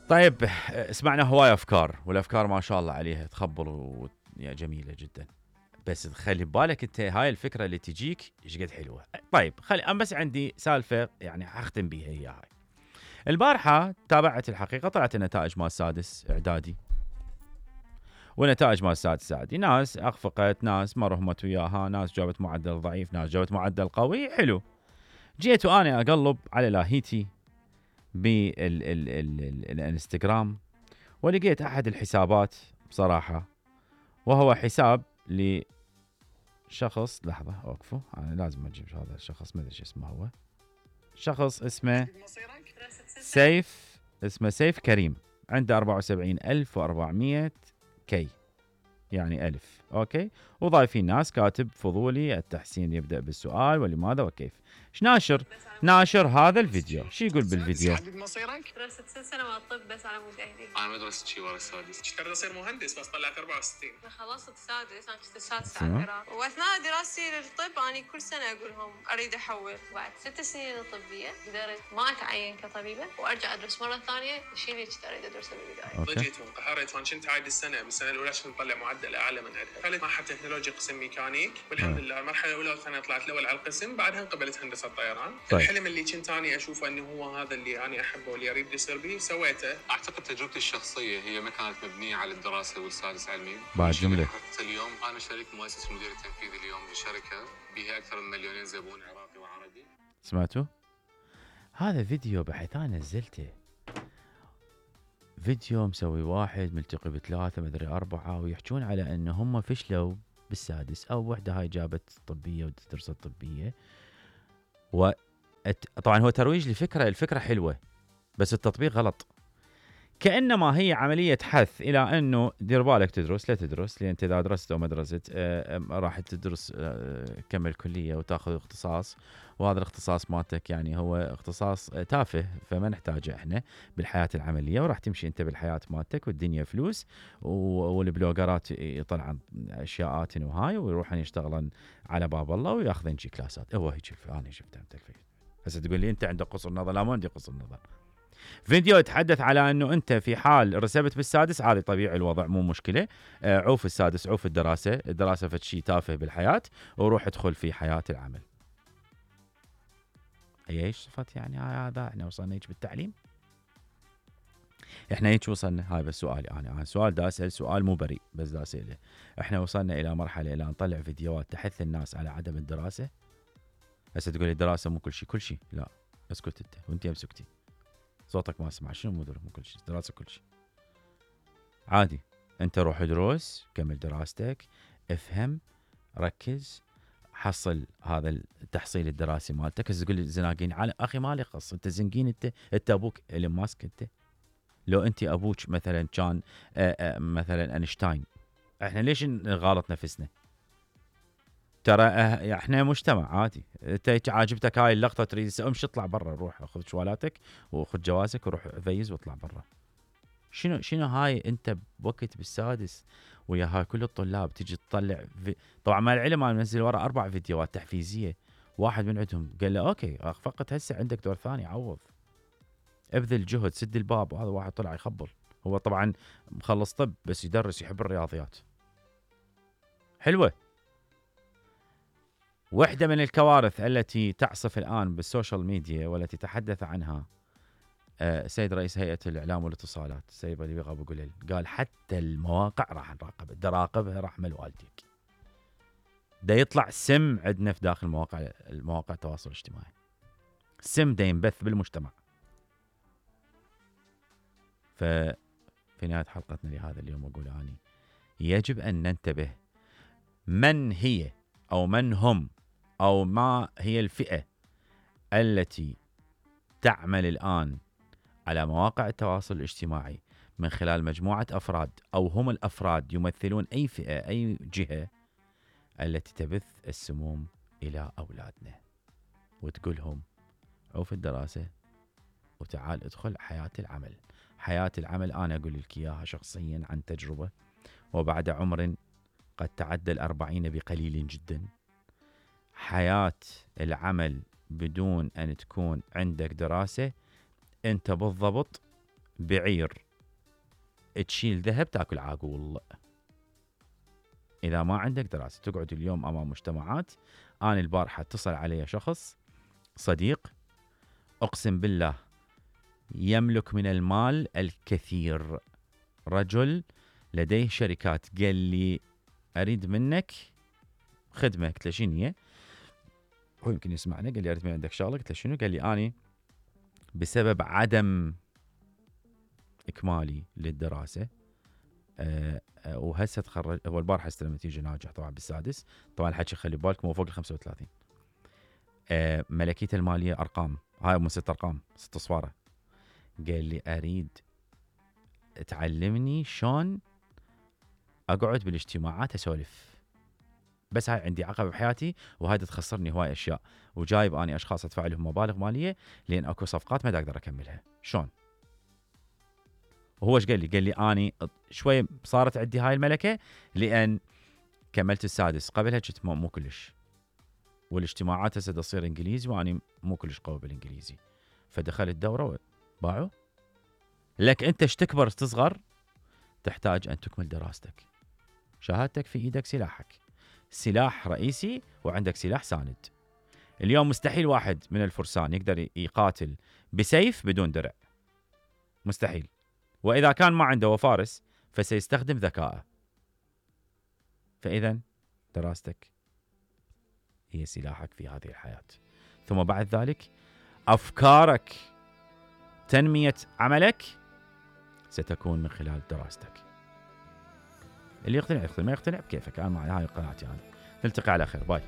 طيب سمعنا هواي افكار، والافكار ما شاء الله عليها تخبل جميله جدا. بس خلي ببالك انت هاي الفكره اللي تجيك ايش قد حلوه. طيب انا بس عندي سالفه يعني حختم بيها هي هاي. البارحه تابعت الحقيقه، طلعت النتائج مال السادس اعدادي، ونتائج مال السادس اعدادي ناس اخفقت، ناس ما رهمت وياها، ناس جابت معدل ضعيف، ناس جابت معدل قوي. حلو. جيت وانا اقلب على لاهيتي بالانستغرام، ولقيت احد الحسابات بصراحه، وهو حساب لشخص، لحظه اوقفوا انا لازم اجيب هذا الشخص، ما ادري ايش اسمه، هو شخص اسمه سيف كريم، عنده 74400 كي، يعني ألف. أوكي. وضايفين ناس كاتب فضولي التحسين يبدأ بالسؤال ولماذا وكيف. ايش ناشر هذا الفيديو. شو يقول بالفيديو؟ حدد مصيرك؟ درست 6 سنوات طب بس على مود اهلي. انا ما درست شيء ورا السادس، كنت اصير مهندس بس طلعت 64. انا خلصت السادس، انا كنت السادس على العراق، واثناء دراستي للطب انا كل سنه اقول لهم اريد احول. بعد 6 سنين الطبيه قدرت ما اتعين كطبيبه وارجع ادرس مره ثانيه الشيء اللي كنت اريد ادرسه بالبدايه. جيت وانقهرت وانا كنت عايد السنه بالسنه الاولى عشان اطلع معدل اعلى من عندها. دخلت معهد تكنولوجي قسم ميكانيك، والحمد لله المرحله الاولى والثانيه طلعت الاول على القسم، بعدها انقبلت هندسه طيران. الحلم اللي كنت اني اشوفه انه هو هذا اللي انا احبه واللي اريد يصير به سويته. اعتقد تجربتي الشخصيه هي ما كانت مبنيه على الدراسه والسادس علمي. بعد جمله حتى اليوم انا شريك مؤسس المدير التنفيذي اليوم لشركه بها اكثر من 2,000,000 زبون عراقي وعربي. سمعتوا؟ هذا فيديو بحيث انا نزلته، فيديو مسوي واحد ملتقي بثلاثه مدري اربعه، ويحجون على انه هم فشلوا بالسادس، او وحده هاي جابت طبيه وتدرس الطبيه. طبعا هو ترويج لفكره، الفكره حلوه بس التطبيق غلط. كأنما هي عملية حث إلى أنه دير بالك تدرس، لا تدرس، لأن أنت إذا درست أو ما درست راح تدرس كمل كلية وتأخذ اختصاص، وهذا الاختصاص مالتك يعني هو اختصاص تافه، فما نحتاجه احنا بالحياة العملية، وراح تمشي أنت بالحياة مالتك والدنيا فلوس، والبلوجرات يطلعن أشياءات وهاي ويروحن يشتغلن على باب الله وياخذن جي كلاسات. هو هيك أنا شفتها بالتلفزيون. هسه تقول لي أنت عندك قصر نظر، لا ما عندي قصر نظر. فيديو يتحدث على انه انت في حال رسبت بالسادس عادي طبيعي الوضع مو مشكله، عوف السادس، عوف الدراسه فد شيء تافه بالحياه، وروح ادخل في حياه العمل. هي ايش صفت يعني هذا؟ احنا وصلنا هيك بالتعليم؟ احنا هيك وصلنا؟ هاي بس سؤالي انا سؤال دا اسال، سؤال مو بريء بس دا اساله. احنا وصلنا الى مرحله الى نطلع فيديوهات تحث الناس على عدم الدراسه؟ هسه تقول لي الدراسه مو كل شيء، كل شيء لا، اسكت انت وانت مسكتي صوتك ما اسمع. شنو مو كل شيء؟ دراسه كل شيء عادي. انت روح ادرس، كمل دراستك، افهم، ركز، حصل هذا التحصيل الدراسي مالتك. تقول لي زناقين على اخي مالي خص، انت زنقين، انت ابوك ايلون ماسك، انت لو انت ابوك مثلا كان مثلا اينشتاين، احنا ليش نغالط نفسنا؟ ترى احنا مجتمع عادي. انت عاجبتك هاي اللقطه تريد امشي اطلع برا، روح خذ شوالاتك وخذ جوازك وروح فيز واطلع برا. شنو هاي؟ انت بوقت بالسادس ويا هاي كل الطلاب تيجي تطلع طبعا مع العلم انا منزل ورا 4 فيديوهات تحفيزيه، واحد من عندهم قال له اوكي فقط هسه عندك دور ثاني، عوض، ابذل جهد، سد الباب. وهذا واحد طلع يخبل، هو طبعا مخلص طب بس يدرس، يحب الرياضيات. حلوه. واحدة من الكوارث التي تعصف الآن بالسوشيال ميديا والتي تحدث عنها سيد رئيس هيئة الإعلام والاتصالات السيد بديع أبو قليل، قال حتى المواقع راح نراقبها رحمة والديك. دا يطلع سم عندنا في داخل مواقع التواصل الاجتماعي، سم دا ينبث بالمجتمع. ففي نهاية حلقتنا لهذا اليوم أقول أني يجب أن ننتبه من هي أو من هم أو ما هي الفئة التي تعمل الآن على مواقع التواصل الاجتماعي من خلال مجموعة أفراد، أو هم الأفراد يمثلون أي فئة أي جهة التي تبث السموم إلى أولادنا وتقولهم عوف الدراسة وتعال ادخل حياة العمل. حياة العمل أنا أقول لك إياها شخصيا عن تجربة، وبعد عمر قد تعدى 40 بقليل جدا. حياة العمل بدون أن تكون عندك دراسة، أنت بالضبط بعير تشيل ذهب تاكل عاقول. إذا ما عندك دراسة تقعد اليوم أمام مجتمعات. أنا البارحة اتصل علي شخص صديق أقسم بالله يملك من المال الكثير، رجل لديه شركات، قال لي أريد منك خدمة. قلت له شنو هي؟ هو يمكن يسمعنا. قال لي أريد من عندك شغلة. قلت له شنو؟ قال لي أنا بسبب عدم إكمالي للدراسة وهسه تخرج. هو البارحة استلم نتيجة ناجح طبعا بالسادس. طبعا الحكي خلي بالكم هو فوق ال 35. ملكيته المالية أرقام، هاي من 6 أرقام 6 صفارة. قال لي أريد تعلمني شلون أقعد بالاجتماعات أسولف، بس هاي عندي عقبة بحياتي وهاي تخسرني هواي أشياء، وجايب أني أشخاص أدفع لهم مبالغ مالية لأن أكو صفقات ما أقدر أكملها. شلون؟ وهو ايش قال لي؟ قال لي أني شوي صارت عندي هاي الملكة لأن كملت السادس، قبلها كنت مو كلش، والاجتماعات هسه تصير إنجليزي وأني مو كلش قوي بالإنجليزي، فدخلت دورة باعوا. لك أنت ايش تكبر تصغر تحتاج أن تكمل دراستك. شهادتك في إيدك سلاحك، سلاح رئيسي وعندك سلاح ساند. اليوم مستحيل واحد من الفرسان يقدر يقاتل بسيف بدون درع، مستحيل. وإذا كان ما عنده وفارس فسيستخدم ذكاءه. فإذا دراستك هي سلاحك في هذه الحياة. ثم بعد ذلك أفكارك، تنمية عملك ستكون من خلال دراستك. اللي يقتنع يقتنع، ما يقتنع بكيفك. أنا هاي قناعتي. أنا نلتقي على خير. باي.